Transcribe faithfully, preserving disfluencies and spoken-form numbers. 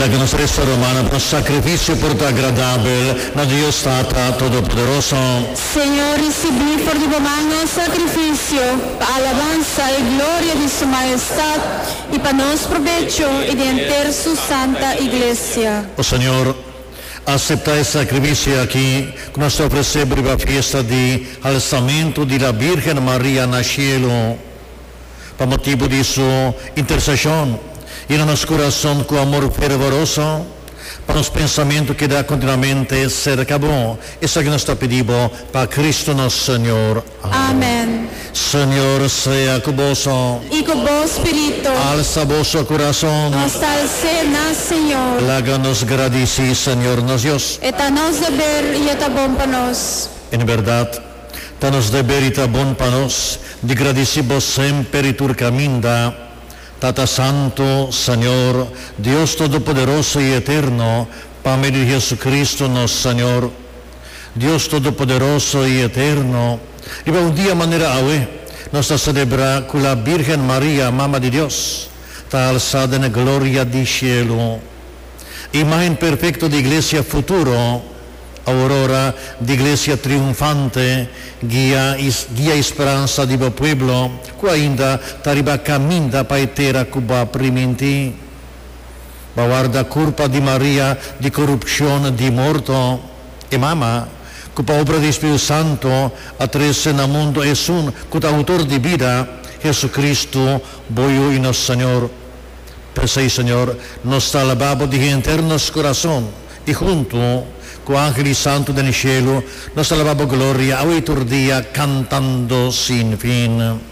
Laga nos resa, rumannan, pa sakrifisio por ta agradabel na Dios Tata Todopoderoso. Señor, risibí for di bo man nos sakrifisio, pa alabansa i gloria di su mahestat, i pa nos probecho i di henter su santa iglesia. Oh Señor, aseptá e sakrifisio aki ku nos ta ofresé riba fiesta di alsamentu di la Virgen Maria na shelu. Pa motibu di su interseshon, yena nos kurason ku amor fervoroso, pa nos pensamentu keda kontinuamente serka bo. Esaki nos ta pidi pa Kristu nos Señor. Amèn. Señor sea ku boso. I ku bo spiritu. Alsa boso kurason. Nos ta als'é na Señor. Laga nos gradisí Señor nos Dios. E ta nos deber i ta bon pa nos. En berdat, ta nos deber i ta bon pa nos di gradisí bo semper i tur kaminda. Tata Santu, Señor, Dios Todopoderoso i Eterno, pa medio di Hesukristu nos Señor. Dios Todopoderoso i Eterno, riba un dia manera awe, nos ta selebrá ku la Virgen Maria, Mama di Dios, ta alsá den gloria di shelu. Imagen perfekto di iglesia futuro, aurora di iglesia triunfante, guia, guia i speransa di pueblo, ku ainda ta riba kaminda pa e tera ku B'a primintí. B'a warda kurpa di Maria di korupshon di morto, e mama, ku pa obra di Spiritu Santu a trese na mundu esun ku ta outor di bida, Hesukristu, bo Yu i nos Señor. P'esei, Señor, nos ta alabá bo di henter nos kurason, i huntu ku angel i santu den shelu, nos ta alabá bo gloria, awe i tur dia, kantando sin fin.